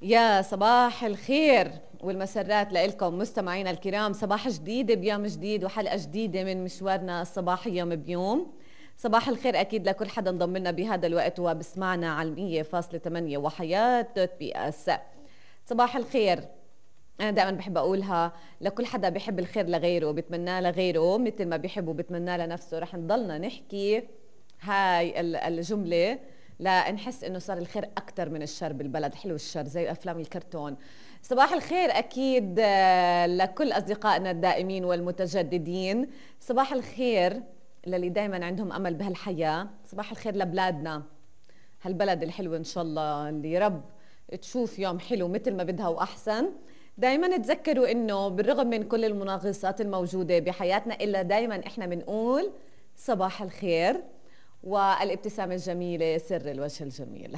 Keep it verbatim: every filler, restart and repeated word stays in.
يا صباح الخير والمسرات لإلكم مستمعينا الكرام. صباح جديد بيوم جديد وحلقة جديدة من مشوارنا الصباحي يوم بيوم. صباح الخير أكيد لكل حدا انضم لنا بهذا الوقت وبسمعنا على مية فاصلة ثمانية وحياة دوت بي اس. صباح الخير أنا دائما بحب أقولها لكل حدا بيحب الخير لغيره وبتمناه لغيره مثل ما بيحب وبتمناه لنفسه. رح نضلنا نحكي هاي الجملة لنحس انه صار الخير اكثر من الشر بالبلد. حلو الشر زي افلام الكرتون. صباح الخير اكيد لكل اصدقائنا الدائمين والمتجددين. صباح الخير للي دائما عندهم امل بهالحياه. صباح الخير لبلادنا هالبلد الحلو ان شاء الله اللي رب تشوف يوم حلو مثل ما بدها واحسن. دائما تذكروا انه بالرغم من كل المناغصات الموجوده بحياتنا الا دائما احنا بنقول صباح الخير والابتسامة الجميلة سر الوجه الجميل.